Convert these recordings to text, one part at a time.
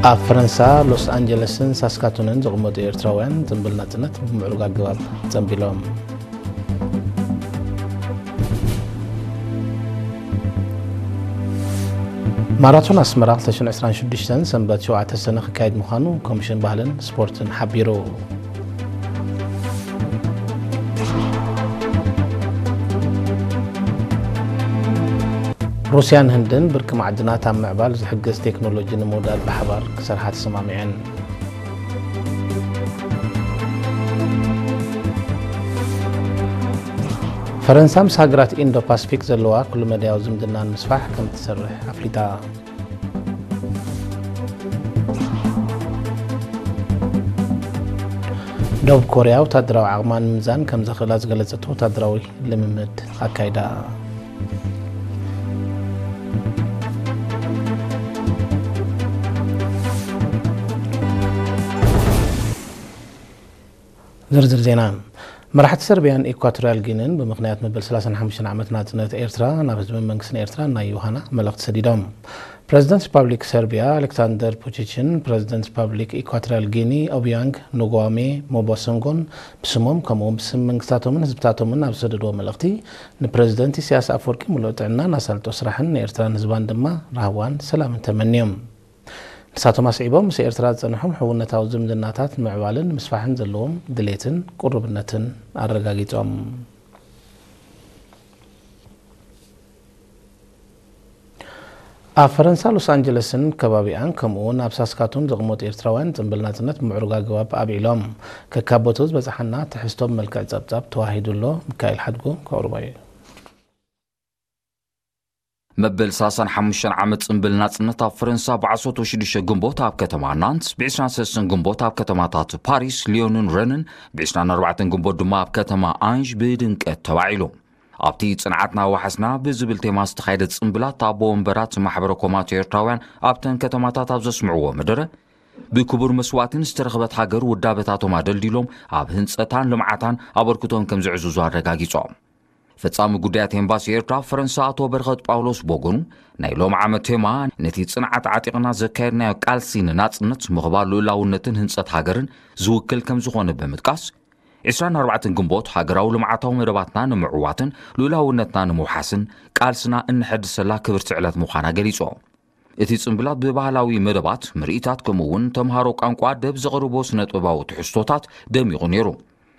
ኣብ ፈረንሳ ሎስ ኣንጀለስን ሳስካቱንን ዝቕመጡ ኤርትራውያን ጽምብል ናጽነት ብምዕሩግ ኣገባብ ጸምቢሎም። ማራቶን ኣስመራ ክልተ ሽሕን ዕስራን ሽዱሽተን ሰንበት ሸውዓተ ሰነ ክካየድ ምዃኑ ኮሚሽን ባህልን ስፖርትን ሓቢሩ። ሩስያን ህንድን ብርቂ ማዕድናት ኣብ ምዕባል ዝሕግዝ ቴክኖሎጂ ንምውዳድ ብሓባር ክሰርሓ ተሰማሚዐን። ፈረንሳ ምስ ሃገራት ኢንዶ ፓስፊክ ዘለዋ ኩሉ መዳያዊ ዝምድና ንምስፋሕ ከም ትሰርሕ ኣፍሊጣ። ደቡብ ኮርያ ወታደራዊ ዓቕማ ንምምዛን ከም ዘኽእላ ዝገለጸቶ ወታደራዊ ልምምድ ኣካይዳ። ዝርዝር ዜና። መራሕቲ ሰርቢያን ኢኳቶሪያል ጊኒን ብምኽንያት መበል ሰላሳን ሓሙሽተን ዓመት ናጽነት ኤርትራ ናብ ህዝብን መንግስትን ኤርትራ ናይ ዮሃና መልእኽቲ ሰዲዶም። ፕረዚደንት ሪፓብሊክ ሰርቢያ ኣሌክሳንደር ፑቺችን ፕረዚደንት ሪፓብሊክ ኢኳቶሪያል ጊኒ ኦቢያንግ ኑጓሜ ሞቦሰንጎን ብስሞም ከምኡውን ብስም መንግስታቶምን ህዝብታቶምን ኣብ ዝሰደድዎ መልእኽቲ ንፕረዚደንት ኢሳያስ ኣፈወርቂ ምሉእ ጥዕናን ኣሳልጦ ስራሕን ንኤርትራን ህዝባን ድማ ራህዋን ሰላምን ተመንዮም። ንሳቶም ኣስዒቦም ምስ ኤርትራ ዝጸንሖም ሕውነታዊ ዝምድናታት ንምዕባልን ምስፋሕን ዘለዎም ድሌትን ቅሩብነትን ኣረጋጊጾም። ኣብ ፈረንሳ ሎስ ኣንጀለስን ከባቢኣን ከምኡውን ኣብ ሳስካቱን ዝቕመጡ ኤርትራውያን ጽምብል ናጽነት ብምዕሩግ ኣገባብ ኣብዒሎም። ከካብ ቦትኡ ዝበጽሓና ትሕዝቶ ብመልክዕ ጸብጻብ ተዋሂዱ ኣሎ። ሚካኤል ሓድጉ ከቕርቦ እዩ። መበል ሰላሳን ሓሙሽተን ዓመት ጽምብል ናጽነት ኣብ ፈረንሳ ብዓሰርተ ሽዱሽተ ግንቦት ኣብ ከተማ ናንት፣ ብ ዕስራን ሰለስተን ግንቦት ኣብ ከተማታት ፓሪስ፣ ሊዮንን ረንን፣ ብ ዕስራን ኣርባዕተን ግንቦት ድማ ኣብ ከተማ ኣንዥ ብድምቀት ተባዒሉ። ኣብቲ ጽንዓትና ወሓስና ብዝብል ቴማ ዝተኻየደ ጽምብላት ኣቦ ወንበራት ማሕበረ ኮማት ኤርትራውያን ኣብተን ከተማታት ኣብ ዘስምዕዎ መደረ፣ ብክቡር መስዋእትን ዝተረኽበት ሃገር ውዳበታቶም ኣደልዲሎም ኣብ ህንጸታን ልምዓታን ኣበርክቶም ከም ዘዕዝዙ ኣረጋጊጾም። ፈጻሚ ጉዳያት ኤምባሲ ኤርትራ ኣብ ፈረንሳ ኣቶ በረኸት ጳውሎስ ብወገኑ፣ ናይ ሎም ዓመት ቴማ ነቲ ጽንዓት ዓጢቕና ዘካየድናዮ ቃልሲ ንናጽነት፣ ምኽባር ልኡላውነትን ህንጸት ሃገርን ዝውክል ከም ዝኾነ ብምጥቃስ፣ ዕስራን ኣርባዕተን ግንቦት ሃገራዊ ልምዓታዊ መደባትና ንምዕዋትን ልኡላውነትና ንምውሓስን ቃልስና እንሐድሰላ ክብርቲ ዕለት ምዃና ገሊጾም። እቲ ጽምብላት ብባህላዊ መደባት፣ ምርኢታት ከምኡ እውን ተምሃሮ ቋንቋ ደብ ዘቕርቦ ስነ-ጥበባዊ ትሕዝቶታት ደሚቑ ነይሩ።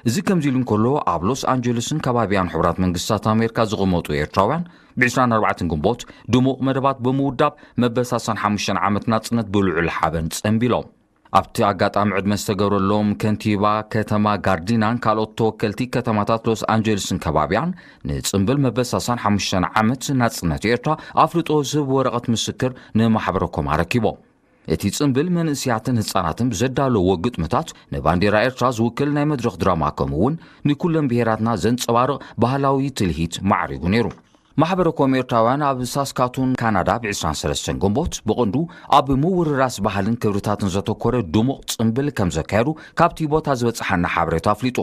እዚ ከምዚ ኢሉ እንከሎ፣ ኣብ ሎስ ኣንጀለስን ከባቢያን ሕቡራት መንግስታት ኣሜሪካ ዝቕመጡ ኤርትራውያን ብ ዕስራን ኣርባዕተን ግንቦት ድሙቕ መደባት ብምውዳብ መበል ሰላሳን ሓሙሽተን ዓመት ናጽነት ብልዑል ሓበን ጸንቢሎም። ኣብቲ ኣጋጣሚ ዕድመ ዝተገብረሎም ከንቲባ ከተማ ጋርዲናን ካልኦት ተወከልቲ ከተማታት ሎስ ኣንጀለስን ከባቢያን ንጽምብል መበል ሰላሳን ሓሙሽተን ዓመት ናጽነት ኤርትራ ኣፍልጦ ዝህብ ወረቐት ምስክር ንማሕበረ ኮም ኣረኪቦም። እቲ ጽምብል መንእስያትን ህጻናትን ብዘዳለዎ ግጥምታት ንባንዴራ ኤርትራ ዝውክል ናይ መድረኽ ድራማ ከምኡ እውን ንኩለን ብሄራትና ዘንጸባርቕ ባህላዊ ትልሂት ማዕሪጉ ነይሩ። ማሕበረ ኮም ኤርትራውያን ኣብ ሳስካቱን ካናዳ ብ ዕስራን ሰለስተን ግንቦት ብቕንዱ ኣብ ምውርራስ ባህልን ክብርታትን ዘተኮረ ድሙቕ ጽምብል ከም ዘካየዱ ካብቲ ቦታ ዝበጽሓና ሓበሬታ ኣፍሊጡ።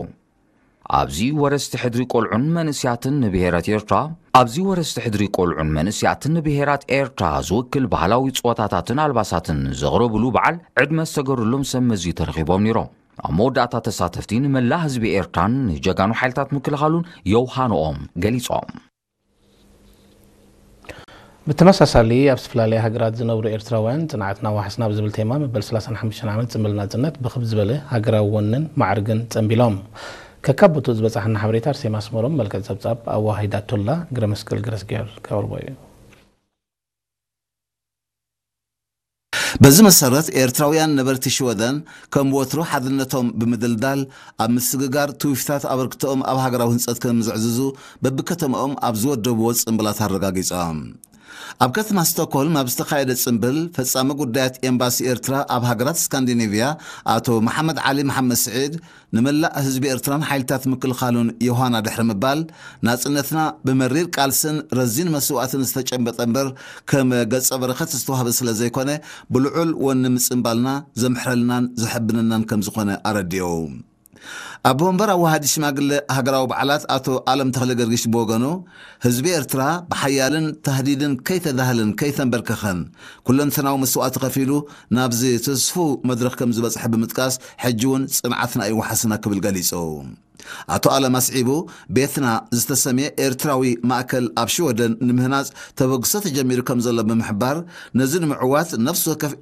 ኣብዚ ወረስቲ ሕድሪ ቆልዑን መንእስያትን ንብሄራት ኤርትራ ኣብዚ ወረስቲ ሕድሪ ቆልዑን መንእስያትን ንብሄራት ኤርትራ ዝውክል ባህላዊ ጸወታታትን ኣልባሳትን ዘቕረብሉ በዓል ዕድመ ዝተገሩሎም ሰብ መዚ ተረኺቦም ነይሮም። ኣብ መወዳእታ ተሳተፍቲ ንመላእ ህዝቢ ኤርትራን ንጀጋኑ ሓይልታት ምክልኻሉን የውሃንኦም ገሊጾም። ብተመሳሳሊ ኣብ ዝተፈላለያ ሃገራት ዝነብሩ ኤርትራውያን ጽንዓትና ዋሕስና ብዝብል ቴማ መበል ሰላሳን ሓሙሽተን ዓመት ጽምብል ናጽነት ብኽብ ዝበለ ሃገራዊ ወንን ማዕርግን ጸንቢሎም። ከካብ ቦትኡ ዝበጻሕና ሓበሬታ ኣርሴማ ኣስመሮም መልክዕ ጸብጻብ ኣዋሂዳቶላ። ግረ መስቀል ገረስጊሄር ከቕርቦ እዩ። በዚ መሰረት ኤርትራውያን ነበርቲ ሽወደን ከም ወትሩ ሓድነቶም ብምድልዳል ኣብ ምስግጋር ትውፊታት ኣበርክቶኦም ኣብ ሃገራዊ ህንጸት ከም ዘዕዝዙ በብከተማኦም ኣብ ዝወደብዎ ጽምብላት ኣረጋጊጾም። ኣብ ከተማ ስቶክሆልም ኣብ ዝተኻየደ ጽምብል ፈጻሚ ጉዳያት ኤምባሲ ኤርትራ ኣብ ሃገራት ስካንዲኔቭያ ኣቶ መሓመድ ዓሊ መሓመድ ስዒድ ንመላእ ህዝቢ ኤርትራን ሓይልታት ምክልኻሉን ዮሃና ድሕሪ ምባል፣ ናጽነትና ብመሪር ቃልስን ረዚን መስዋእትን ዝተጨበጠ እምበር ከም ገጸ በረኸት ዝተዋህበ ስለ ዘይኮነ፣ ብልዑል ወኒ ምጽንባልና ዘምሕረልናን ዘሐብነናን ከም ዝኾነ ኣረዲኡ። ኣቦ መንበር ኣዋሃዲ ሽማግለ ሃገራዊ በዓላት ኣቶ ኣለም ተኽለ ገርጊሽ ብወገኑ፣ ህዝቢ ኤርትራ ብሓያልን ታህዲድን ከይተዳህለን ከይተንበርከኸን፣ ኩለንተናዊ መስዋእቲ ከፊሉ ናብዚ ትስፉ መድረኽ ከም ዝበጽሐ ብምጥቃስ፣ ሕጂ እውን ጽንዓትና እዩ ዋሕስና ክብል ገሊጹ። ኣቶ ኣለም ኣስዒቡ፣ ቤትና ዝተሰምየ ኤርትራዊ ማእከል ኣብ ሽወደን ንምህናጽ ተበግሶ ተጀሚሩ ከም ዘሎ ብምሕባር፣ ነዚ ንምዕዋት ነፍሲ ወከፍ